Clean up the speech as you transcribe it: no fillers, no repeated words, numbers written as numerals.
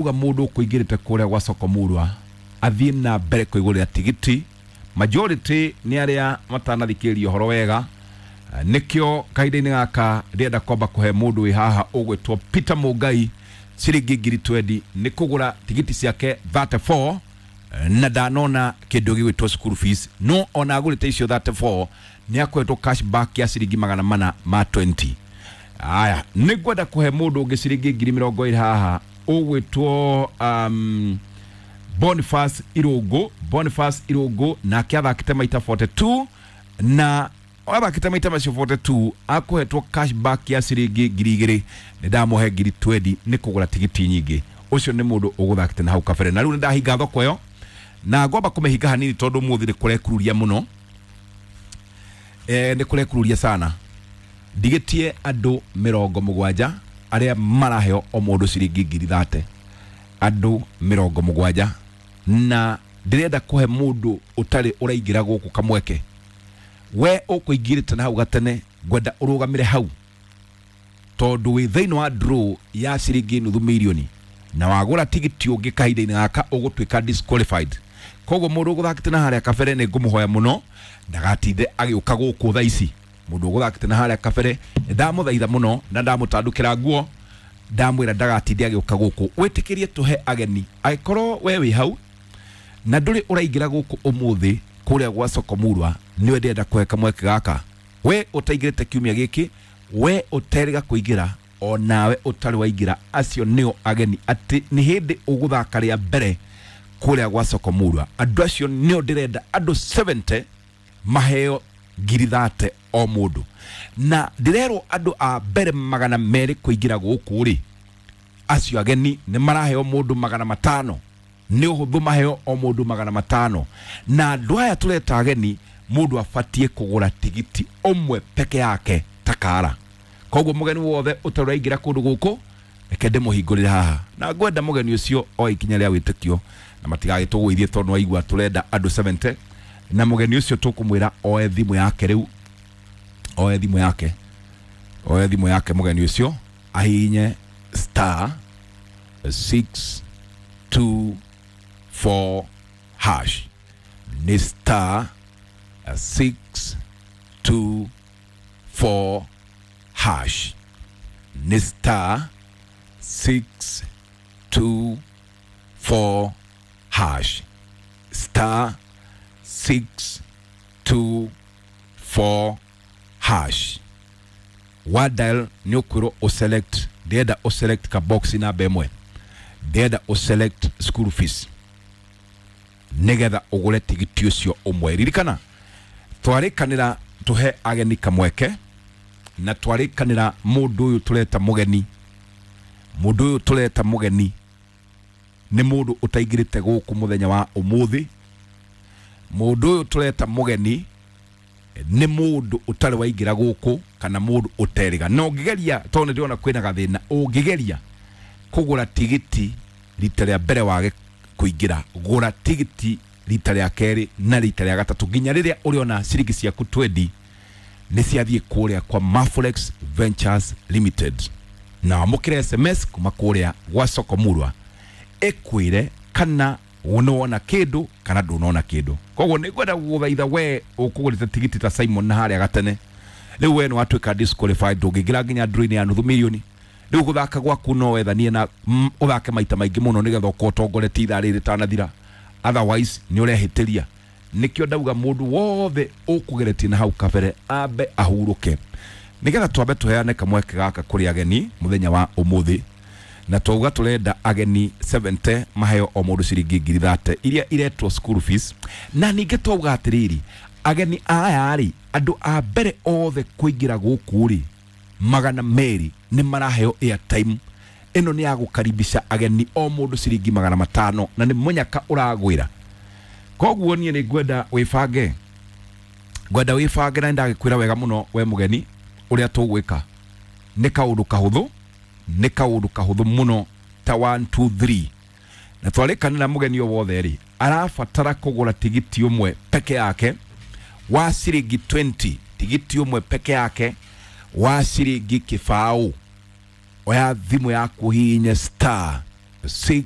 Uga mundu ukuingirite kuria gwa soko murwa athie na mbere kwigurira tigiti. Majority ni aria matanathikiria uhoro wega, nikio kahinda-inĩ gaka ndĩrenda kwamba kũhe mũndũ wĩ haha ũgwĩtwo Peter Mũngai ciringi 20,000 nĩ kũgũra tigiti ciake 34, na ndanona kĩndũ gĩgwĩtwo school fees, no ona agũrĩte icio 34 nĩ akoretwo cash back ya ciringi 420. Aya, nĩ ngwenda kũhe mũndũ ũngĩ ciringi 20,000 haha ũgwĩtwo Boniface Irungu. Boniface Irungu nake athakĩte maita 42, na athakĩte maita macio 42 akũhetwo cash back ya ciringi 2,000. Nĩ ndamũhe 20,000 nĩ kũgũra tigiti nyingĩ. Ũcio nĩ mũndũ ũgũthakĩte na hau kabere. Na rĩu nĩ ndahinga thoko ĩyo na ngwamba kũmĩhinga hanini tondũ mũthĩ nĩ kũrekururia mũno, nĩ kũrekururia sana. Ndigĩtie andũ 70 arĩa maraheo o mũndũ ciringi 30,000, andũ 70, na ndĩrenda kũhe mũndũ ũtarĩ ũraingĩra gũkũ kamweke. We ũkũingĩrĩte na hau gatene, ngwenda ũrũgamĩre hau tondũ wĩ thĩinĩ wa draw ya ciringi 500,000, na wagũra tigiti ũngĩ kahinda-inĩ gaka ũgũtuĩka disqualified. Koguo mũndũ ũgũthakĩte na harĩa kabere nĩ ngũmũhoya mũno ndagatinde agĩũka gũkũ thaa ici. Mũndũ ũgũthakĩte na harĩa kabere nĩ ndamũthaitha mũno na ndamũtandũkĩra nguo, ndamwĩra ndagatinde agĩũka gũkũ. Wĩtĩkĩrie tũhe ageni, angĩkorwo we wĩ hau na ndũrĩ ũraingĩra gũkũ ũmũthĩ kũrĩa gwa soko murwa, nĩwe ndĩrenda kũhe kamweke gaka. We ũtaingĩrĩte kiumia gĩkĩ, we ũterĩga kũingĩra, o nawe ũtarĩ waingĩra, acio nĩo ageni atĩ nĩ hĩndĩ ũgũthaka rĩa mbere kũrĩa gwa soko murwa. Andũ acio nĩo ndĩrenda andũ 70 maheo 30,000 o mũndũ, na ndĩrerwo andũ a mbere 200 kũingĩra gũkũ rĩ, acio ageni nĩ maraheo mũndũ 500. Nĩ ũhũthũ maheo o mũndũ 500. Na andũ aya tũreta ageni, mũndũ abatie kũgũra tigiti ũmwe peke yake takara. Koguo mũgeni wothe ũtarĩ ũraingĩra kũndũ gũkũ, reke ndĩmũhingũrĩre haha, na ngwenda mũgeni ũcio oe ikinya rĩa wĩtĩkio na matigagĩtũgũithie tondũ waigua tũrenda andũ 70. Na mũgeni ũcio tũkũmwĩra oe thimũ yake rĩu, oe thimũ yake, oe thimũ yake mũgeni ũcio ahihinye star 624 hash. Nĩ star 624 hash, nĩ star 624 hash, star 624 hash. Wa dial nĩ ũkwĩrwo ũselect, ndĩrenda ũselect ka box namba ĩmwe, ndĩrenda ũselect school fees nĩgetha ũgũre tigiti ũcio ũmwe. Ririkana twarĩkanĩra tũhe ageni kamweke, na twarĩkanĩra mũndũ ũyũ tũreta mũgeni, mũndũ ũyũ tũreta mũgeni nĩ mũndũ ũtaingĩrĩte gũkũ mũthenya wa ũmũthĩ. Mũndũ ũyũ tũreta mũgeni nĩ mũndũ ũtarĩ waingĩra gũkũ kana mũndũ ũterĩga. Na ũngĩgeria, tondũ nĩ ndĩrona kwĩna gathĩna, ũngĩgeria kũgũra tigiti rita rĩa mbere wage kũingĩra, gũra tigiti rita rĩa kerĩ na rita rĩa gatatũ nginya rĩrĩa ũrĩona ciringi ciaku 20 nĩ ciathiĩ kũrĩa kwa Maforex Ventures Limited. Na wamũkĩre SMS kuma kũrĩa gwa soko murwa ĩkwĩre kana nĩwona kĩndũ kana ndũnona kĩndũ. Koguo nĩ ngwenda gũgũthaitha we ũkũgũrĩte tigiti ta Simon na harĩa gatene, rĩu we nĩ watuĩka disqualified, ndũngĩingĩra nginya draw-inĩ ya 500,000. Rĩu gũthaka gwaku no wethanie na ũthake maita maingĩ mũno nĩgetha ũkorwo ũtongoretie ithaa rĩrĩ rĩtanathira, otherwise nĩ ũrehĩtĩria. Nĩkĩo ndauga mũndũ wothe ũkũgeretie na hau kabere ambe ahurũke, nĩgetha twambe tũheane kamweke gaka kũrĩ ageni mũthenya wa ũmũthĩ. Na twauga tũrenda ageni 70 maheo o mũndũ ciringi 30,000 iria iretwo school fees. Na ningĩ twauga atĩrĩrĩ, ageni aya rĩ, andũ a mbere othe kũingĩra gũkũ rĩ, 200 nĩ maraheo airtime. Ĩno nĩ ya gũkaribisha ageni o mũndũ ciringi 500, na nĩ mũnyaka ũragwĩra. Koguo niĩ nĩ ngwenda wĩbange, ngwenda wĩbange, na nĩndagĩkwĩra wega mũno we mũgeni ũrĩa tũgwĩka. Nĩ kaũndũ kahũthũ, nĩ kaũndũ kahũthũ mũno ta 1 2 3. Na twarĩkanĩra mũgeni o wothe rĩ, arabatara kũgũra tigiti ũmwe peke yake wa ciringi 20, tigiti ũmwe peke yake wa ciringi 20. Oya thimũ yaku hihinye star 6.